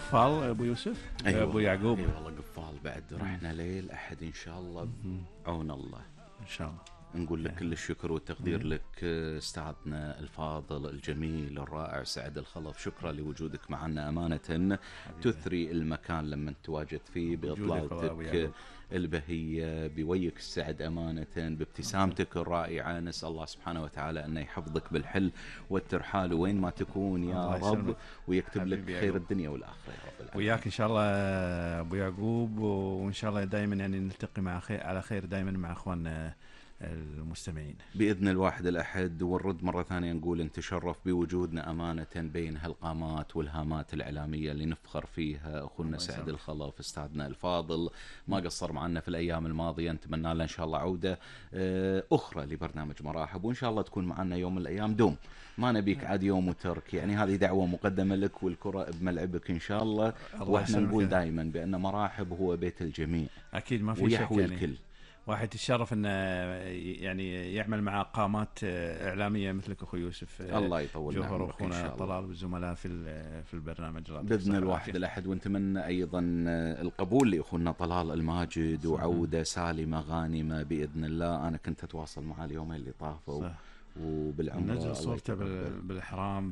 قفال ابو يوسف. أيوة ابو يعقوب. اي والله قفال بعد. رحنا ليل احد ان شاء الله بعون الله ان شاء الله. نقول لك كل الشكر والتقدير لك استاذنا الفاضل الجميل الرائع سعد الخلف. شكرا لوجودك معنا أمانة. تثري المكان لما تواجد فيه بإطلالتك البهية بويك السعد أمانة بابتسامتك الرائعة. نسأل الله سبحانه وتعالى أن يحفظك بالحل والترحال وين ما تكون يا رب ويكتب لك خير الدنيا والآخرة يا رب العالمين. وياك إن شاء الله أبو يعقوب. وإن شاء الله دائما يعني نلتقي مع خير على خير دائما مع أخواننا المستمعين بإذن الواحد الأحد. ونرد مرة ثانية نقول أن تشرف بوجودنا أمانة بين هالقامات والهامات الإعلامية اللي نفخر فيها. أخونا سعد الخلف أستاذنا الفاضل ما قصر معنا في الأيام الماضية. نتمنى له إن شاء الله عودة أخرى لبرنامج مراحب وإن شاء الله تكون معنا يوم من الأيام دوم. ما نبيك عاد يوم وترك يعني. هذه دعوة مقدمة لك والكرة بملعبك إن شاء الله. وإحنا نقول دائما بأن مراحب هو بيت الجميع أكيد ما في ويحوي شك يعني. الكل. واحد يتشرف انه يعني يعمل مع قامات اعلاميه مثلك اخو يوسف. الله يطول جوهر اخونا طلال والزملاء في البرنامج باذن الواحد الاحد. ونتمنى ايضا القبول لاخونا طلال الماجد وعوده سالمه غانمه باذن الله. انا كنت اتواصل معه اليومين اللي طافوا وبالعمره نزل صورته بالاحرام